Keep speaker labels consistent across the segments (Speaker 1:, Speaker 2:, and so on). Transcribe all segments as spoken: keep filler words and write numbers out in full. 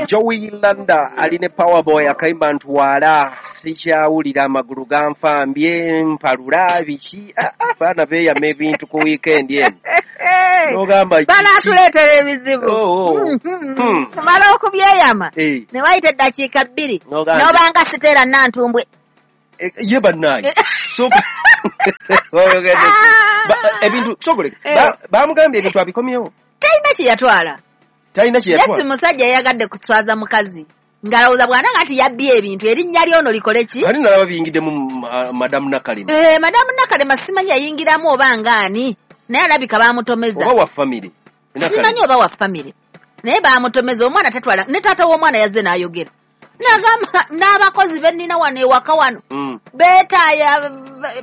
Speaker 1: Joey Landa aline Powerboy akayimba ntwala sikyawulira amagulu ganfambye mpalula biki abaana beeyama ebintu ku weekend eno nogamba
Speaker 2: banaatuleetera ebizibu. Tumala okubyeyama ne wayita eddakiika bbiri n'obanga Siteera Nantumbwe
Speaker 1: ye bannange ebintu sogoleka bamugambye ebintu abikomyewo
Speaker 2: talina kye yatwala.
Speaker 1: Talina kye yatwala.
Speaker 2: Yesu musajja yayagadde kuswaza mukazi ng'alowooza bw'ananga nti yabbye ebintu erinnya lyono likole ki?
Speaker 1: Ani nalaba biyingiddemu Madamu Nakalema.
Speaker 2: Eh, Madamu Nakalema simanyi yayingiramu oba ngaani naye alabika baamutomeza.
Speaker 1: Oba wa famire.
Speaker 2: Simanyi oba wa famire naye baamutomeza omwana tatwala ne taata w'omwana yazze n'ayogera n'agamba n'abakozi be nnina wano ewaka wano
Speaker 1: mm.
Speaker 2: beetaaya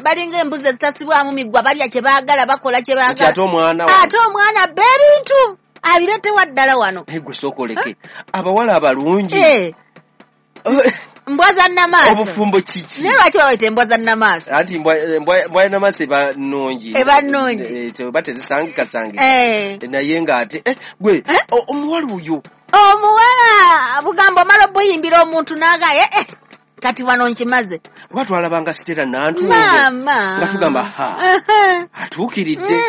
Speaker 2: balinga embuzi ezitasibwamu migwa balya kye baagala bakola kye baagala
Speaker 1: ate omwana
Speaker 2: ate omwana abba ebintu abiretewa ddala wano.
Speaker 1: Gwe sooka oleke abawala abalungi
Speaker 2: eh. Mbwa za nnamaaso
Speaker 1: obufumbo kiki?
Speaker 2: Naye lwaki babayita embwa za nnamaaso?
Speaker 1: Anti mbwa ya nnamaaso eba nnungi
Speaker 2: eba nnungi
Speaker 1: eba tezisangikasangika naye ng'ate gwe omuwala oyo
Speaker 2: omuwala bugamba omala obuyimbira omuntu n'aga eh kati wano nkimaze.
Speaker 1: Oba twalabanga Siteera Nantumbwe
Speaker 2: maama
Speaker 1: nga tugamba ha atuukiridde.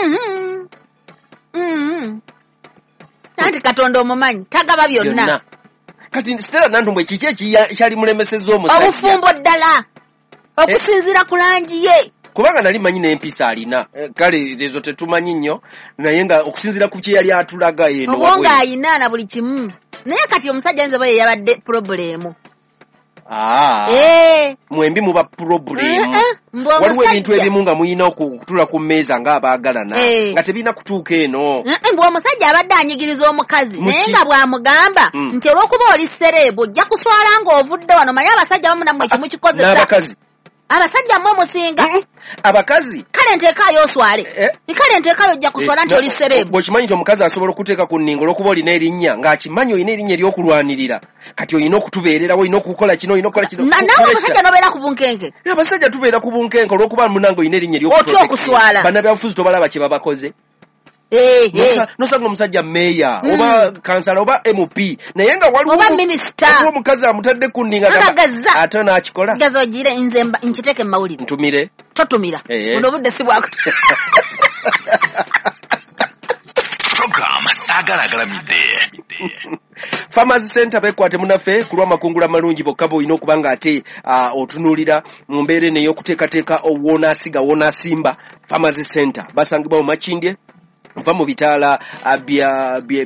Speaker 2: Anti Katonda omumanyi tagaba byonna.
Speaker 1: Kati Siteera Nantumbwe kiki ekyali mulemesezza omusajja?
Speaker 2: Obufumbo ddala okusinziira ku langi ye
Speaker 1: kubanga nali manyi n'empisa alina kale ezo tetumanyi nnyo naye nga okusinziira ku kye yali atulaga eno
Speaker 2: obwongo ayina na buli kimu naye kati omusajja ayinza oba ye yabadde purobulemu.
Speaker 1: Ah,
Speaker 2: eh.
Speaker 1: Mwembi muba purobulemu. Waliwo ebintu ebimu nga muyina okutula ku mmeeza ng'abaagalana
Speaker 2: eh.
Speaker 1: nga tebirina kutuuka eno.
Speaker 2: Mbu omusajja abadde anyigiriza omukazi naye nga bw'amugamba
Speaker 1: mm.
Speaker 2: nti olw'okuba oli sereebu ojja kuswala ng'ovudde wano manye abasajja bamu nammwe ekimukikozesa
Speaker 1: n'abakazi
Speaker 2: abasajja mmwe musinga
Speaker 1: mm -mm. Abakazi
Speaker 2: kale nteekaayo oswale
Speaker 1: eh.
Speaker 2: kale nteekaayo ojja kuswala
Speaker 1: eh,
Speaker 2: nti oli sereebu.
Speaker 1: Bw'okimanyi nti omukazi asobola okuteeka ku nninga olw'okuba olina erinnya ng'akimanyi olina erinnya ery'okulwanirira kati olina okutubeererawo olina okukola kino olina okukola kino
Speaker 2: naawe omusajja n'obeera ku bunkenke.
Speaker 1: Abasajja tubeera ku bunkenke olw'okuba munange olina erinnya
Speaker 2: ery'okulwanirira okuswala.
Speaker 1: Bannabyabufuzi tobalaba kye babakoze.
Speaker 2: Eh, eh.
Speaker 1: Nosanga omusajja meeya mm. oba kansala oba M P naye nga waliwo
Speaker 2: oba minisita
Speaker 1: omukazi amutadde ku nninga ate n'akikola.
Speaker 2: Gaza ogire nze nkiteeke mu mawulire.
Speaker 1: Ntumire.
Speaker 2: Totumira.
Speaker 1: Eh.
Speaker 2: Buno obudde si bwako.
Speaker 3: Program Saagala Agalamidde.
Speaker 1: Farmers Center bekwate munaffe ku lw'amakungula amalungi bokka bw'olina okuba nga ate uh, otunuulira mu mbeera eno ey'okuteekateeka w'onaasiga w'onaasimba. Farmers Center basangibwa mu Makindye nva mu bitaala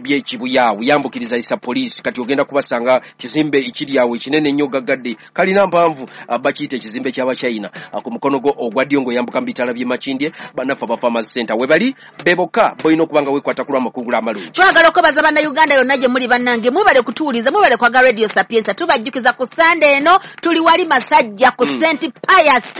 Speaker 1: by'Ekibuya yambukiriza isa poliisi kati ogenda kubasanga kizimbe ekiri awo ekinene ennyo gaggadde kalina mpanvu bakiyita ekizimbe ky'Abachina ku mukono gwo ogwa ddyo ng'oyambuka mu bitaala by'e Makindye. Bannaffe aba Farmers Center we bali be bokka bolina okuba nga weekwata ku lw'amakungula amalungi.
Speaker 2: Twagala okwebaza Bannayuganda yonna gye muli bannange mwebale kutuwuliza mwebale kwagala Radio Sapienza. Tubajjukiza ku Sande eno tuli wali Masajja ku
Speaker 1: mm.
Speaker 2: Saint Pius.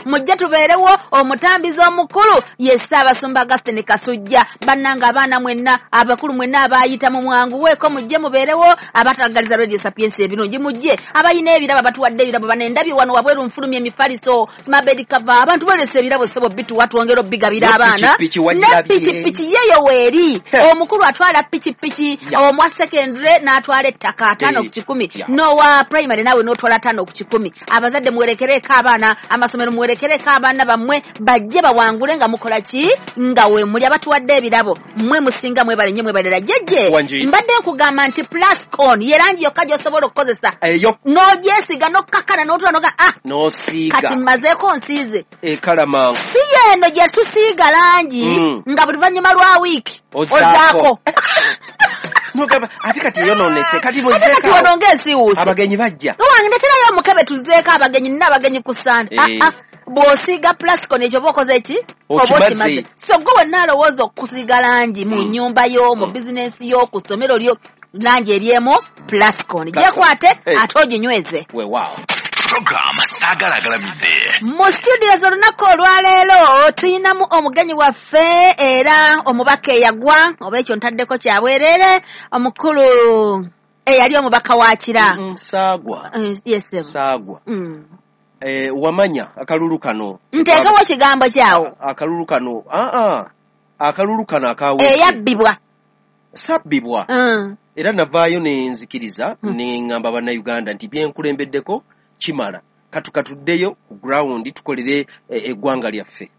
Speaker 2: Mujje tubeerewo omutambizi omukulu ye Ssaabasumba Augustine Kasujja. Bannange abaana mwenna abakulu mwenna abayita mu mwanguweeko mujje mubeerewo abatagaliza Radio Sapienza ebirungi mujje abayina ebirabo abatuwadde ebirabo banendabye wano wabweru nfulumya emifaliso smabed cover abantu balese ebirabo ssebo bituwa twongera obbigabira abaana ne pikipiki yeyo weeri omukulu atwala pikipiki omwa secondary n'atwala ettaka ataano ku kikumi n'owa primary naawe n'otwala ataano ku kikumi. Abazadde muwerekereeko abaana amasomero muwerekereeko abaana bammwe bajje bawangule nga mukola ki nga we muli abatuwadde ebirabo mmwe musinga mwebale nnyo mwebalera. Jjejje mbadde nkugamba nti Plascon ye langi yokka gy'osobola okukozesa n'ogyesiga n'okkakkana n'otula n'oga ah
Speaker 1: n'osiiga
Speaker 2: kati mmazeeko nsiize
Speaker 1: ekala mangu
Speaker 2: si yeeno gye tusiiga langi
Speaker 1: mm.
Speaker 2: nga buli luvannyuma lwa wiiki ozaako
Speaker 1: nogamba ate kati eyonoonese kati
Speaker 2: ate kati wano ng'ensiiwuuse
Speaker 1: abagenyi bajja
Speaker 2: owange ndeterayo omukebe tuzeeko abagenyi nina abagenyi ku Sande.
Speaker 1: Eh.
Speaker 2: Ah, ah. Bw'osiiga Plascon ekyo oba okoze ki? Oba okimaze. So gwe wenna alowooza okusiiga langi mu
Speaker 1: Mm.
Speaker 2: nnyumba yo mu
Speaker 1: Mm.
Speaker 2: bizinensi yo ku ssomero lyo langi eryemu Plascon gyekwate
Speaker 1: Hey.
Speaker 2: ate oginyweze.
Speaker 1: Weewaawo.
Speaker 3: Program Saagala Agalamidde.
Speaker 2: Mu studios olunaku olwaleero tuyinamu omugenyi waffe era omubaka eyagwa oba ekyo ntaddeko kyabwereere omukulu eyali omubaka wa Kira.
Speaker 1: Mm, Saagwa.
Speaker 2: Mm, yes, sir.
Speaker 1: Saagwa.
Speaker 2: Mm.
Speaker 1: Eh, wamanya akalulu kano
Speaker 2: Nteekewo ekigambo kyawo
Speaker 1: akalulu kano aa akalulu kano akawe
Speaker 2: eyabbibwa
Speaker 1: sabbibwa
Speaker 2: Mm.
Speaker 1: Era navaayo ne nzikiriza
Speaker 2: Mm.
Speaker 1: ne ŋŋamba Bannayuganda nti byenkulembeddeko kimala, katukatuddeyo ku ground tukolere eh, eggwanga lyaffe.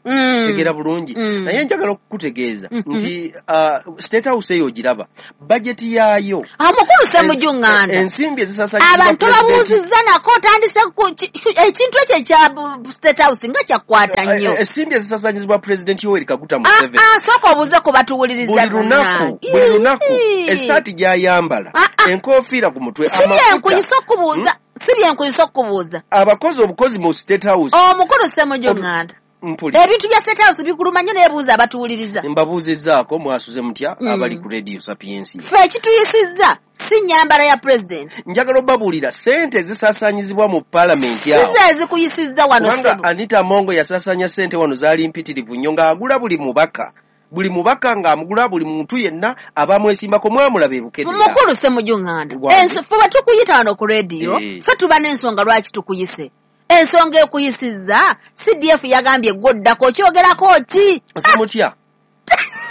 Speaker 2: Mm.
Speaker 1: Tegeera bulungi.
Speaker 2: Mm.
Speaker 1: Naye njagala okukutegeeza
Speaker 2: Mhm.
Speaker 1: nti uh, State House eyo ogiraba, bajeti yaayo,
Speaker 2: Omukulu Ssemujju Nganda,
Speaker 1: ensimbi ezisaasaanyizibwa
Speaker 2: abantu
Speaker 1: President-
Speaker 2: babuuzizza nako otandise ku- ki- ekintu ekyo ekya bu- State House nga kyakwata nnyo.
Speaker 1: Eh, ensimbi ezisaasaanyizibwa President Yoweri Kaguta
Speaker 2: Ah,
Speaker 1: Museveni
Speaker 2: ah, sooka obuuze ku batuwuliriza.
Speaker 1: Buli lunaku, buli lunaku, essaati gy'ayambala,
Speaker 2: Ah, ah.
Speaker 1: enkofiira ku mutwe,
Speaker 2: Si byenkuyisa
Speaker 1: amafuta,
Speaker 2: okubuuza, si byenkuyisa okubuuza.
Speaker 1: Abakozi obukozi mu State House.
Speaker 2: Omukulu Ssemujju
Speaker 1: Otu-
Speaker 2: Nganda,
Speaker 1: Mpuli.
Speaker 2: ebintu bya State House bikuluma nnyo, neebuuza abatuwuliriza.
Speaker 1: Mbabuuzizzaako, mwasuze mutya
Speaker 2: Mm.
Speaker 1: abali ku Radio Sapiensia?
Speaker 2: Ffe ekituyisizza si nnyambala ya pulezidenti.
Speaker 1: Njagala obabuulira sente ezisaasaanyizibwa mu paalamenti
Speaker 2: Si
Speaker 1: awo,
Speaker 2: ze ezikuyisizza wano,
Speaker 1: kubanga
Speaker 2: ssebo.
Speaker 1: Anita Amongo yasaasaanya sente wano zaali mpitirivu nnyo, ng'agula buli mubaka, buli mubaka ng'amugula, buli muntu yenna abamwesimbako. Mwamulaba ebukedera.
Speaker 2: Mukulu Ssemujju Nganda,
Speaker 1: Wange.
Speaker 2: ensi- ffe bwe tukuyita wano ku rediyo,
Speaker 1: Eh.
Speaker 2: ffe tuba n'ensonga lwaki tukuyise. Ensonga ekuyisizza, C D F yagambye gwoddako, okyogerako ki?
Speaker 1: Simutya,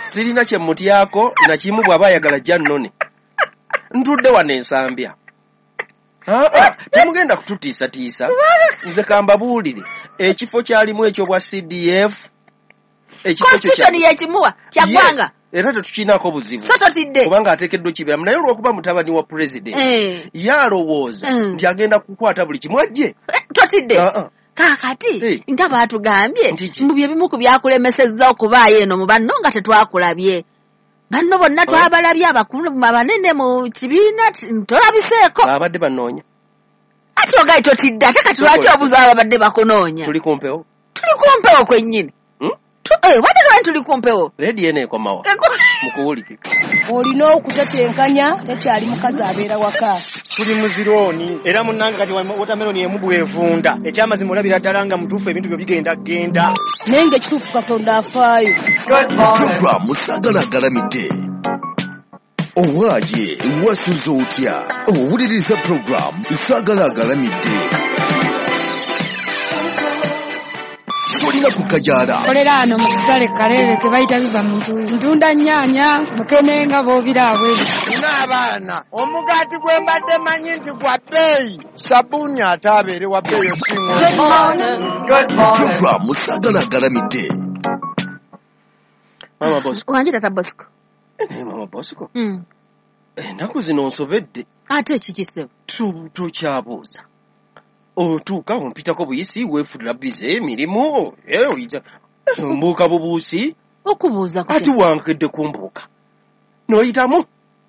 Speaker 1: sirina kye mutyako nakimu. Bw'aba ayagala jja nnone, ntudde wano ensambya. Aa, temugenda kututiisatiisa. Nze kambabuulire, ekifo kyalimu ekyobwa C D F, ekifo ekyo kya-
Speaker 2: Constitution yekimuwa kyaggwanga.
Speaker 1: Yes, era tetukiinaako buzibu,
Speaker 2: So totidde?
Speaker 1: Kubanga ateekeddwa okiberamu, naye olw'okuba mutabani wa pulezidenti,
Speaker 2: Eh,
Speaker 1: ye alowooza
Speaker 2: Mm.
Speaker 1: nti agenda kukwata buli kimu ajje.
Speaker 2: Eh, totidde?
Speaker 1: Aa.
Speaker 2: Kaakati
Speaker 1: Eh.
Speaker 2: nga baatugambye
Speaker 1: Nti ki?
Speaker 2: mbu bye bimu ku byakulemesezza okubaayo eno mu banno nga tetwakulabye. Banno bonna
Speaker 1: Oh.
Speaker 2: twabalabye, abakulu abanene mu kibiina, ti- tolabiseeko.
Speaker 1: Abadde banoonya.
Speaker 2: Ate ogaye totidde, ate kati lwaki obuza ababadde bakunoonya?
Speaker 1: Tuli ku mpewo.
Speaker 2: Tuli ku mpewo kwennyini.
Speaker 1: Hmm?
Speaker 2: Tu- eh, wadde lwani tuli ku mpewo?
Speaker 1: Rediyo eno ekomawa
Speaker 2: Eko-
Speaker 1: mukuwulikika.
Speaker 4: Olina okutetenkanya, tekyali mukazi abeera waka.
Speaker 5: Tuli muzirooni era munnange, kati wotameloni emu bwevunda. Ekyamazima olabira ddala nga mutuufu, ebintu byo bigenda genda.
Speaker 4: Naye ng'ekituufu Katonda afaayo.
Speaker 3: Puroguramu Saagala Agalamidde. Owaaye, wasuze otya? Owuliriza puroguramu Saagala Agalamidde. Tolina kukajaala.
Speaker 6: Kolera ano mu katale Kaleere ke bayita Biva Muntu. Ntunda nnyaanya, mukene nga bw'obira abweru.
Speaker 7: Nina abaana, omugaati gwe mbadde manyi nti gwa bbeeyi, sabbuuni ate abeere wa bbeeyi osinga.
Speaker 3: Puroguramu Saagala Agalamidde.
Speaker 1: Mama Bosco.
Speaker 2: Wangi tata Bosco.
Speaker 1: Eh, naye Mama Bosco,
Speaker 2: Mm.
Speaker 1: ennaku zino nsobedde.
Speaker 2: Ate ekiki, ssebo?
Speaker 1: Tu- tokyabuuza otuuka ompitako buyisi, weefulira bize emirimu, eh, oyita eh, mbuuka bubuusi.
Speaker 2: Okubuuza
Speaker 1: Ati
Speaker 2: kutya?
Speaker 1: wankedde kumbuuka n'oyitamu.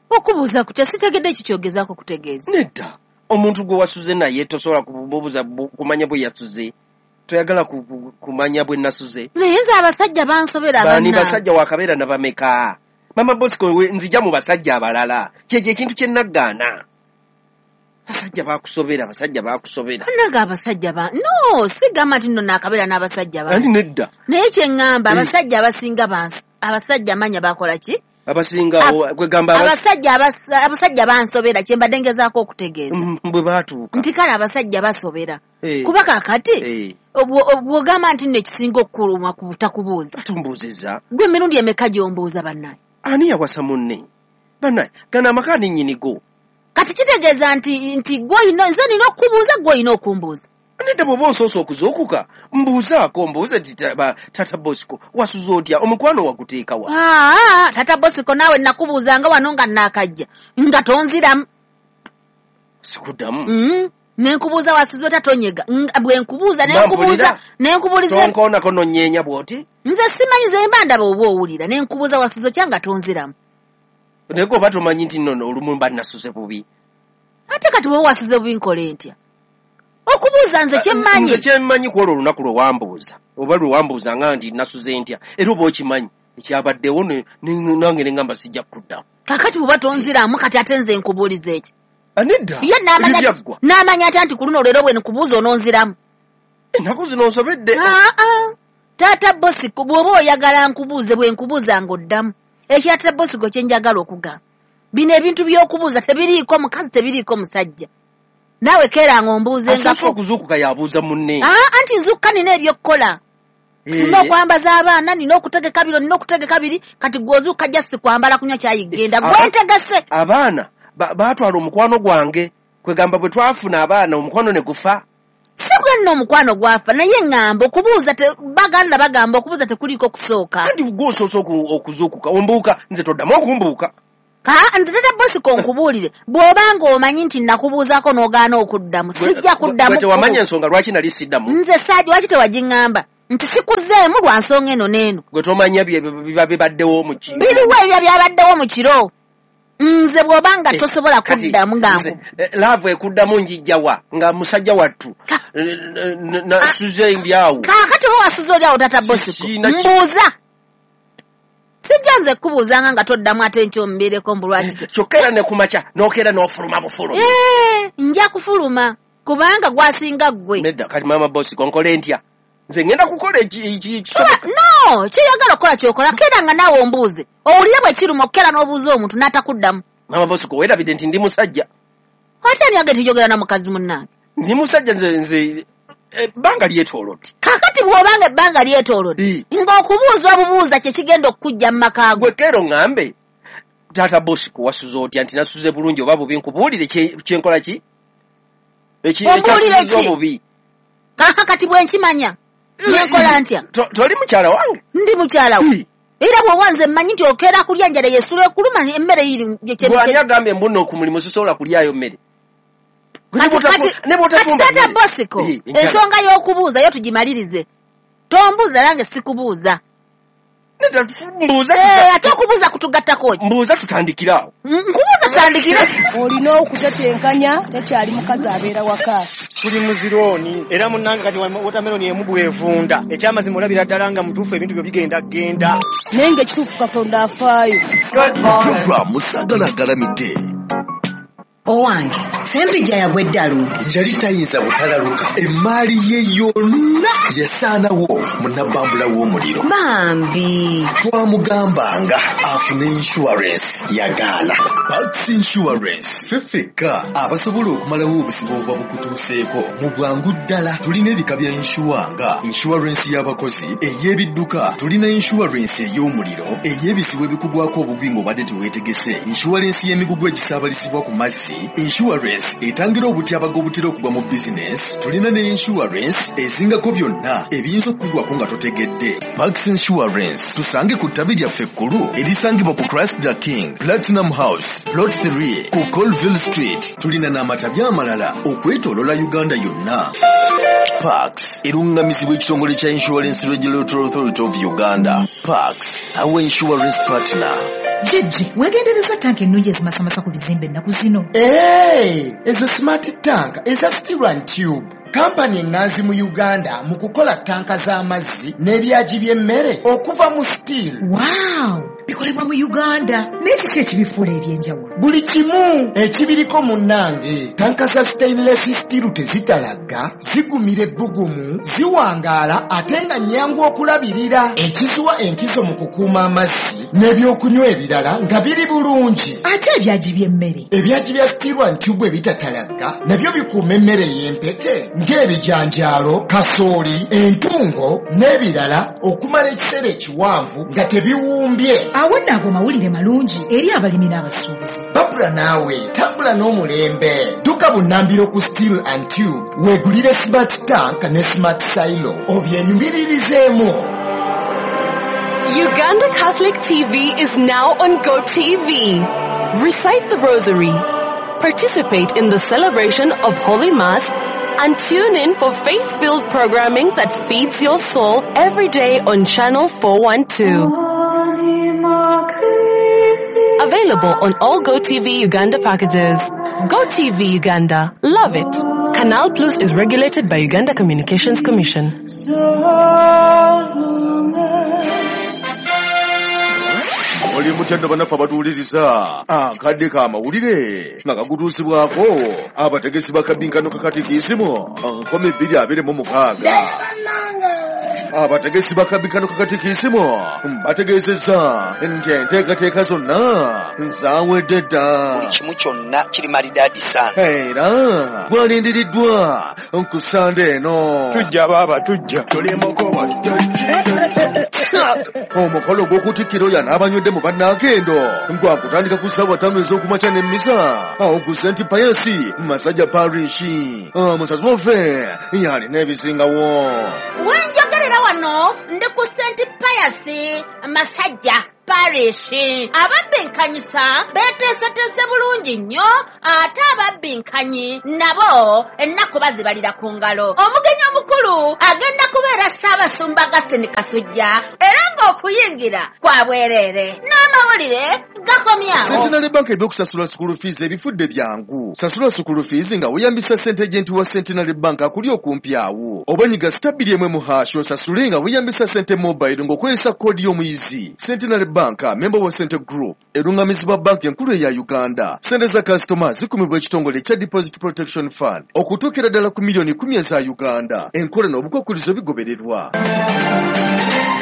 Speaker 2: Okubuuza kutya? Sitegedde ekyo kyogezaako kutegeeza.
Speaker 1: Nedda, omuntu gwe wasuze naye tosobola kumubuuza bu- kumanya bwe yasuze? Toyagala ku- ku- kumanya bwe nasuze?
Speaker 2: Naye nze abasajja bansobera.
Speaker 1: Bani?
Speaker 2: Bannange.
Speaker 1: Basajja wakabeera na bameka, Mama Bosco? We- nzija mu basajja abalala, kyekyo ekintu kye naggaana. Basajja bakusobera, abasajja bakusobera.
Speaker 2: Bannange, abasajja ba no sigamba nti nno naakabeera n'abasajja
Speaker 1: Anti
Speaker 2: bangi.
Speaker 1: nedda.
Speaker 2: Naye kye ŋŋamba,
Speaker 1: Eh.
Speaker 2: abasajja abasinga banso, abasajja manya bakola ki?
Speaker 1: Abasinga
Speaker 2: Ab-
Speaker 1: kwegamba abas-
Speaker 2: Abasajja abas- abasajja bansobera, kye mbadde ngezaako okutegeeza.
Speaker 1: Mm, bwe baatuuka.
Speaker 2: Nti kale abasajja basobera,
Speaker 1: Eh,
Speaker 2: kuba kaakati
Speaker 1: eh,
Speaker 2: obwo- bw'ogamba nti nno ekisinga okukuluma ku butakubuuza.
Speaker 1: Ate ombuuzizza.
Speaker 2: Gwe emirundi emeka gy'ombuuza, bannaye?
Speaker 1: Ani yawasa munne? Bannaye, gano amaka ani nnyinigo?
Speaker 2: Kati kitegeeza nti nti gwe olina, nze nina okukubuuza, gwe olina okumbuuza.
Speaker 1: Nedda, bw'oba onsoose okuzuukuka, mbuuzaako, mbuuze nti ta- ba- tata Bosco, wasuze otya? Omukwano waguteekawa?
Speaker 2: Aa, tata Bosiko, naawe nakubuuzanga wano nga naakajja nga tonziramu.
Speaker 1: Sikuddamu.
Speaker 2: Mm, nenkubuuza wasuze otya, tonyega. Nga- bwe nkubuuza nenkubuuza
Speaker 1: Bampulira.
Speaker 2: nenkubuuliza.
Speaker 1: Tonkoonako nonyeenya bw'oti.
Speaker 2: Nze simanyi, nze mba ndaba oba owulira, nenkubuuza wasuze otya nga tonziramu.
Speaker 1: Naye gwe oba tomanyi nti nno olumu mba nasuze bubi.
Speaker 2: Ate kati bwe wasuze bubi nkole ntya? Okubuuza nze kyemmanyi.
Speaker 1: Nze kyemmanyi, ku olwo olunaku lwe wambuuza, oba lwe wambuuza nga nti nasuze ntya, era oba okimanyi ekyabaddewo, ne- ne- nange ne ŋŋamba sijja kukuddamu.
Speaker 2: Kakati bw'oba tonziramu, kati ate nze nkubuuliza eki?
Speaker 1: Ah, nedda.
Speaker 2: Ye n'amanya.
Speaker 1: Ebyo byaggwa.
Speaker 2: N'amanya atya nti ku luno leero bwe nkubuuza ononziramu?
Speaker 1: Ennaku zino nsobedde.
Speaker 2: Aa, taata Bosiko, bw'oba oyagala nkubuuze, bwe nkubuuza ng'oddamu. Ekya taata Bosiko kye njagala okugamba, bino ebintu by'okubuuza tebiriiko mukazi, tebiriiko musajja. Naawe keera
Speaker 1: Asoose
Speaker 2: ng'ombuuzengako.
Speaker 1: okuzuukuka yabuuza munne.
Speaker 2: Aa, anti nzuukuka nina ebyokukola. Nina okwambaza abaana, nina okutegeka bino, nina okutegeka biri, kati gw'ozuuka just kwambala kunywa kyayi genda. Gwe ntegese.
Speaker 1: Abaana baatwala omukwano gwange, kwegamba bwe twafuna abaana omukwano ne gufa.
Speaker 2: Si gwe nno omukwano gwafa, naye ŋŋamba okubuuza baganda bagamba okubuuza tekuliiko kusooka.
Speaker 1: Anti gw'osoose okuzuukuka, ombuuka, nze toddamu okumbuuka.
Speaker 2: Ka nze tata Bosco nkubuulire, bw'obanga omanyi nti nakubuuzaako n'ogaana okuddamu, sijja kuddamu.
Speaker 1: Gwe tewamanya ensonga lwaki nali siddamu.
Speaker 2: Nze saaji lwaki tewagiŋŋamba nti sikuzeemu lwa nsonga eno n'eno.
Speaker 1: Gwe tomanya biba bibaddewo mu kiro.
Speaker 2: Biriwo ebyo byabaddewo mu kiro. Nze bw'obanga tosobola kuddamu nga nku.
Speaker 1: Laavu ekuddamu njijja wa nga musajja wattu nasuze ndi awo.
Speaker 2: Kaakati oba wasuze oli awo tata Bosco, mbuuza. Sijja nze kubuuzanga nga toddamu ate nkyo mbeereko mbu lwaki.
Speaker 1: Kyokka era ne ku makya n'okeera n'ofuluma bufulumi.
Speaker 2: Ee, nja kufuluma kubanga gwasinga ggwe.
Speaker 1: Nedda kati maama Bosco nkole ntya? Nze ngenda kukola ekisoboka.
Speaker 2: No, ky'oyagala okukola ky'okola, keera nga naawe ombuuze. Owulire bwe kiruma okukeera n'obuuza omuntu n'atakuddamu.
Speaker 1: Maama Bosco weerabidde nti ndi musajja.
Speaker 2: Ate ani agenda njogera na mukazi munnange?
Speaker 1: Ndi musajja nze nze ebbanga lyetoolodde.
Speaker 2: Kaakati bw'obanga ebbanga lyetoolodde, ng'okubuuza obubuuza kye kigenda okukujja mu maka go.
Speaker 1: Gwe keera oŋŋambe, taata Bosco wasuze otya nti nasuze bulungi oba bubi, nkubuulire kye nkola ki?
Speaker 2: Ombuulire ki?
Speaker 1: Obubi.
Speaker 2: Kaakati bwe nkimanya nenkola ntya?
Speaker 1: Toli mukyala wange?
Speaker 2: Ndi mukyala wo. Era bw'oba nze mmanyi nti okeera kulya njala yesula ekuluma emmere iri.
Speaker 1: Gw'ani agambye mbu nno ku mulimu sisobola kulyayo mmere?
Speaker 2: Kati taata Bosco, ensonga y'okubuuza yo tugimalirize. Tombuuza nange sikubuuza. Ate okubuuza kutugattako ki?
Speaker 1: Mbuuza tutandikire awo.
Speaker 2: Nkubuuza tutandikire.
Speaker 4: Olina okutetenkanya, tekyali mukazi abeera waka.
Speaker 5: Tuli mu zirooni era munnange kati watermelon emu bw'evunda. Ekyamazima olabira ddala nga mutuufu ebintu byo bigenda genda.
Speaker 4: Naye ng'ekituufu Katonda afaayo.
Speaker 3: Puroguramu Saagala Agalamidde.
Speaker 8: Owange, Ssempijja yagwa eddalu.
Speaker 3: Yali tayinza butalaluka. Emmaali ye yonna yasaanawo mu nnabbambula w'omuliro.
Speaker 8: Bambi.
Speaker 3: Twamugambanga afune insurance yagaana. Pax Insurance ffe ffekka abasobola okumalawo obuzibu obuba bukutuuseeko mu bwangu ddala. Tulina ebika bya insure nga insurance y'abakozi, ey'ebidduka, tulina insurance ey'omuliro, ey'ebizibu ebikugwako obugwi ng'obadde teweetegese, insurance y'emigugu egisaabalizibwa ku mazzi, insurance etangira obutyabaga obutera okugwa mu bizinesi, tulina ne insurance ezingako byonna ebiyinza okukugwako nga totegedde. Pax Insurance tusange ku ttabi lyaffe ekkulu erisangibwa ku Christ the King Platinum House Plot three ku Colville Street. Tulina n'amatabi amalala okwetooloola Uganda yonna. Pax erungamizibwa ekitongole kya Insurance Regulatory Authority of Uganda. Pax, our insurance partner.
Speaker 9: Jjajji, weegendereza tanka ennungi ezimasamasa ku bizimbe ennaku zino.
Speaker 7: Hey, ezo smart tank eza steel and tube. Kampani eŋŋanzi mu Uganda mu kukola tanka z'amazzi n'ebyagi by'emmere okuva mu steel.
Speaker 9: Wow! Bikolebwa mu Uganda. Naye kiki ekibifuula eby'enjawulo?
Speaker 7: Buli kimu ekibiriko munnange. Tanka za stainless steel tezitalagga, zigumira ebbugumu, ziwangaala ate nga nnyangu okulabirira. Ekiziwa enkizo mu kukuuma amazzi n'ebyokunywa ebirala nga biri bulungi.
Speaker 9: Ate ebyagi by'emmere?
Speaker 7: Ebyagi bya steel and tube ebitatalagga nabyo bikuuma emmere ey'empeke ng'ebijanjaalo, kasooli, entungo n'ebirala okumala ekiseera ekiwanvu nga tebiwumbye.
Speaker 9: Awo nno ago mawulire malungi eri abalimi n'abasuubuzi.
Speaker 7: Babula naawe tambula n'omulembe. Dduka bunnambiro ku Steel and Tube weegulire smart tank ne smart silo obyenyumiririzeemu.
Speaker 10: Uganda Catholic T V is now on GoTV. Recite the Rosary, participate in the celebration of Holy Mass, and tune in for faith-filled programming that feeds your soul every day on Channel four one two. Available on all GoTV Uganda packages. GoTV Uganda. Love it. Canal Plus is regulated by Uganda Communications Commission.
Speaker 3: Oli mutendo bannaffe abatuwuliriza akadde k'amawulire nga kagutuusibwako abategesi ba kabinkano ka katikisimu nkumi bbiri abiri mu mukaaga. Abategesi bakabikano kakatikisimu bategeezezza nti enteekateeka zonna zaawedde dda.
Speaker 11: Buli kimu kyonna kiri malidaadi sana.
Speaker 3: Era bwalindiriddwa ku Sande eno.
Speaker 12: Tujja baaba tujja.
Speaker 3: Omukolo gw'okutikkira oyo anaabanywedde mu bannakendo gwakutandika ku ssaawa ttaano ez'okumakya n'emmisa awo ku Saint Pius Masajja Parish. Omusazi waffe yalina ebisingawo.
Speaker 2: Wenjogerera wano ndi ku Saint Pius Masajja Parish. Ababbinkanyisa beeteeseteese bulungi nnyo, ate ababbinkanyi nabo ennaku bazibalira ku ngalo. Omugenyi omukulu agenda kubeera Ssaabasumba Augustine Kasujja, era ng'okuyingira kwa bwereere. N'amawulire gakomyawo.
Speaker 3: Centenary Bank ebyokusasula school fees ebifudde byangu. Sasula school fees nga weeyambisa ssente agent wa Centenary Bank akuli okumpi awo. Oba nyiga star bbiri emu mu hash osasule nga weeyambisa ssente mobile ng'okozesa koodi y'omuyizi. Centenary Bank, member wa Sente Group, erungamizibwa banki enkulu eya Uganda. Ssente za kasitoma zikumibwa ekitongole ekya Deposit Protection Fund okutuukira ddala ku miliyoni kumi eza Uganda. Enkola n'obukwakkulizo bigobererwa.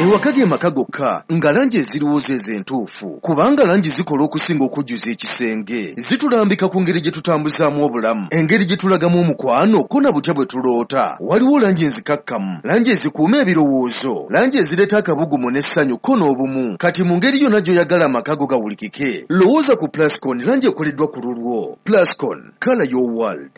Speaker 3: Ewaka ge maka gokka nga langi eziriwo ze entuufu, kubanga langi zikola okusinga okujjuza ekisenge. Zitulambika ku ngeri gye tutambuzaamu obulamu, engeri gye tulagamu omukwano, ko na butya bwe tuloota. Waliwo langi enzikakkamu, langi ezikuuma ebirowoozo, langi ezireeta akabugumu n'essanyu ko n'obumu. Kati mu ngeri yonna gy'oyagala amaka go gawulikike, lowooza ku Plascon, langi ekoleddwa ku lulwo. Plascon, colour your world.